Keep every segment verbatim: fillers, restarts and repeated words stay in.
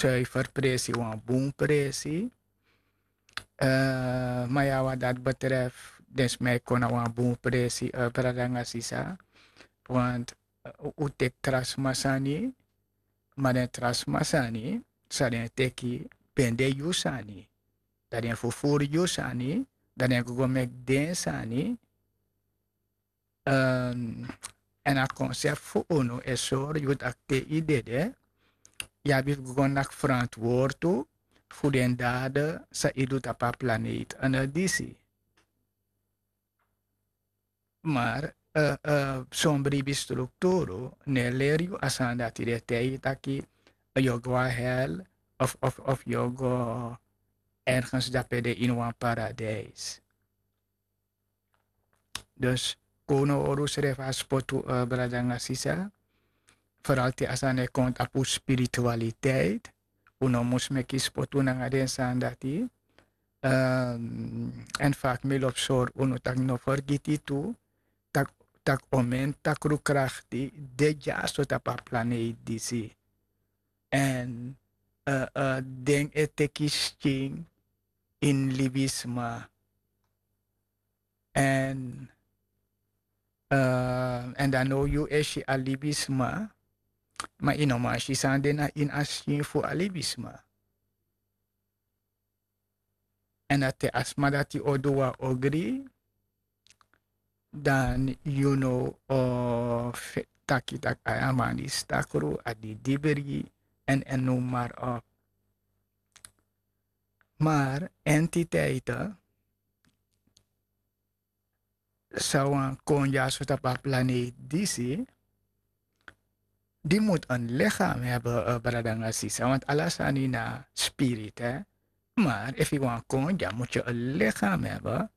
suifer presi, wan bun presi. Ma ya wat dat betreft, den sma e kon na wan bun presi, brada nanga sisa. Want un teki tra sma sani, ma den tra sma sani san den teki ben de yu sani. Dan den fufuru yu sani, dan den go go meki den sani. Èn a konsept fu unu e sori yu tak' te yu dede, yu abi fu go go naki ferantwortu fu den dade san yu du tapu a planeet anda disi. Maar son bribi strukturu no e leri yu a sani dati, den e taigi yu taki yu o go na hel of yu o go ergens dape de ini wan paradijs. Dus kon un no hori unsrefi a spotu, brada nanga sisa. Vooral te a sani e kon tapu spiritualiteit, un no mus meki spotu nanga den sani dati. Èn fa mi lobi sori unu tak' no fergiti tu tak' omen takru krakti de dyaso tapu a planeet disi. Èn den e teki skin ini libisma. Èn èn dan now yu e si a libisma, ma yu no man si san de na ini a skin fu a libisma. Èn dan te a sma dati o du wan ogri, dan yu no o taki tak' a man disi takru, a didibri, èn èn noem maar op. Maar entiteiten san wani kon dyaso tapu a planeet disi, di mus en lichaam hebben, brada nanga sisa, want ala sani na spirit. Maar efu yu wani kon dya mus yu en lichaam hebben.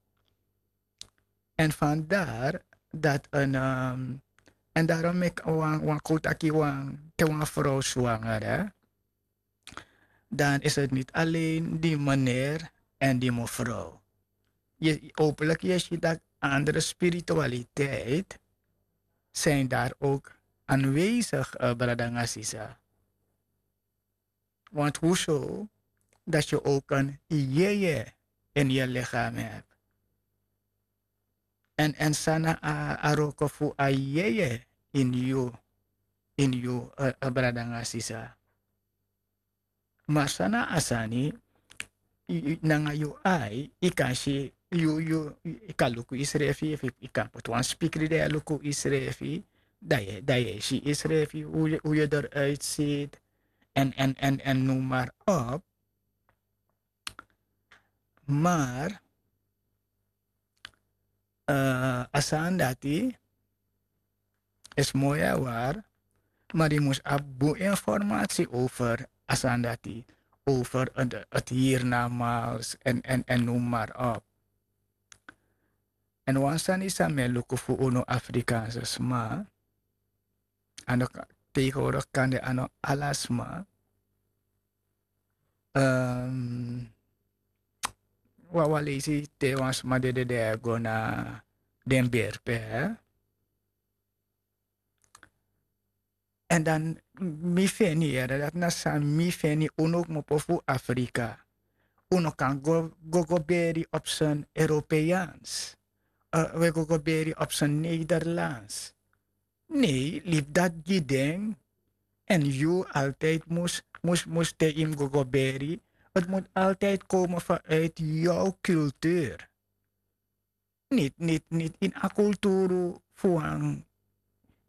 Èn vandaar dat en èn daarom meki wan kon taki wan te wan frow swanger, dan is het niet alleen die meneer en die mevrouw. Hopelijk yu e si dat andere spiritualiteit zijn daar ook aanwezig, brada nanga sisa. Want hoezo dat yu ook en yeye in yu lichaam hebt? Èn san na a wroko fu a yeye ini yu, ini yu, brada nanga sisa. Maar san na a sani, nanga yu ai yu kan si, yu kan luku yusrefi, efu yu kan poti wan spikri dan yu e luku yusrefi, dan yu e si yusrefi, hoe yu eruit ziet, en noem maar op. Maar a sani dati is mooi en waar, maar yu mus abi bun informatie over a sani dati, over het hiernamaals en noem maar op. En wan sani san mi e luku fu unu Afrikaanse sma, a no, tegenwoordig kan de a no ala sma. Wawan leisi te wan sma dede, den e go na den berpe. Èn dan mi feni yere dati na san mi feni, unu kmopo fu Afrika, unu kan go go beri op sen Europeans, we go go beri op sen Nederlands. Nee, libi dati gi den. Èn yu altijd mus mus te yu mus go go beri, het moet altijd komen vanuit yu cultuur. Niti niti niti ini a kulturu fu wan.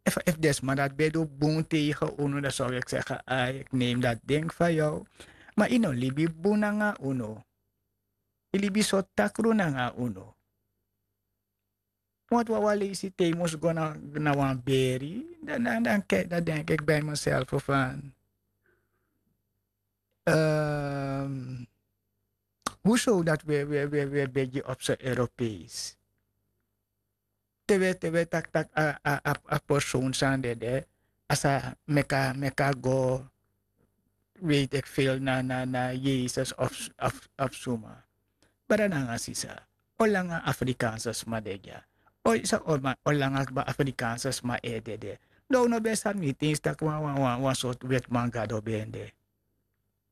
Efu den sma dati ben du bun tegen unu, dan sou eki segi ai, eki neem dati denki fa yu. Ma yu no libi bun nanga unu. Yu libi so takru nanga unu. Want wawan leisi te yu mus go na wan beri, dan dan dan keki dan denki eki bai miselfu fan, hoe sou dati we we we begi op so Europees? Te we te we taki taki a a a persoon san dede, a sa meki a meki a go, weet ik veel, na na na Yesus of of suma. Brada nanga sisa, olanga Afrikaanse sma de dya? Oi sa olanga kba Afrikaanse sma e dede? Dan un no ben sabi niti ens taki wan wan wan sortu wetiman gado ben de.